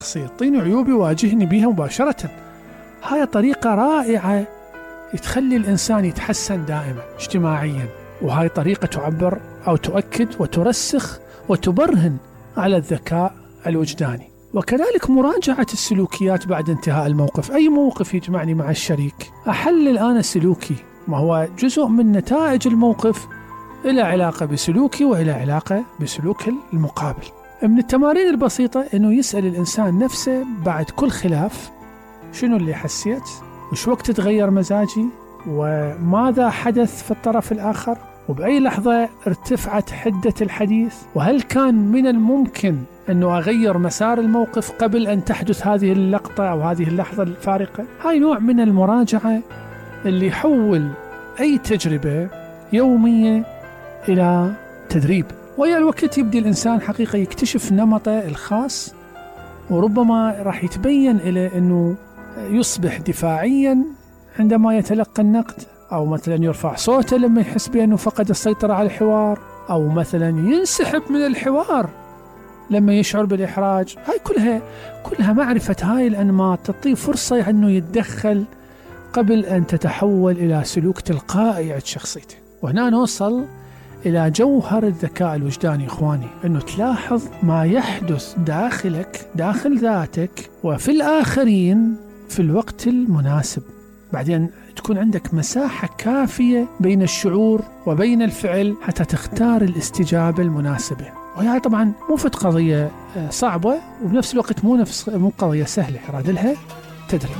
نقصي، اعطيني عيوبي واجهني بها مباشرة. هاي طريقة رائعة تخلي الإنسان يتحسن دائما اجتماعيا، وهاي طريقة تعبر أو تؤكد وترسخ وتبرهن على الذكاء الوجداني. وكذلك مراجعة السلوكيات بعد انتهاء الموقف. أي موقف يجمعني مع الشريك أحلل أنا سلوكي، ما هو جزء من نتائج الموقف إلى علاقة بسلوكي وإلى علاقة بسلوك المقابل. من التمارين البسيطة أنه يسأل الإنسان نفسه بعد كل خلاف شنو اللي حسيت، وش وقت تغير مزاجي، وماذا حدث في الطرف الآخر، وبأي لحظة ارتفعت حدة الحديث، وهل كان من الممكن أنه أغير مسار الموقف قبل أن تحدث هذه اللقطة أو هذه اللحظة الفارقة. هاي نوع من المراجعة اللي يحول أي تجربة يومية إلى تدريب، ويا الوقت يبدأ الإنسان حقيقة يكتشف نمطه الخاص، وربما راح يتبين إليه أنه يصبح دفاعيا عندما يتلقى النقد، أو مثلا يرفع صوته لما يحس بأنه فقد السيطرة على الحوار، أو مثلا ينسحب من الحوار لما يشعر بالإحراج. هاي كلها معرفة هاي الأنماط تعطيه فرصة أنه يتدخل قبل أن تتحول إلى سلوك تلقائي عند شخصيته. وهنا نوصل إلى جوهر الذكاء الوجداني إخواني، أنه تلاحظ ما يحدث داخلك، داخل ذاتك وفي الآخرين في الوقت المناسب. بعدين تكون عندك مساحة كافية بين الشعور وبين الفعل حتى تختار الاستجابة المناسبة. وهي طبعا مو فت قضية صعبة، وبنفس الوقت مو قضية سهلة، يراد لها تدريب.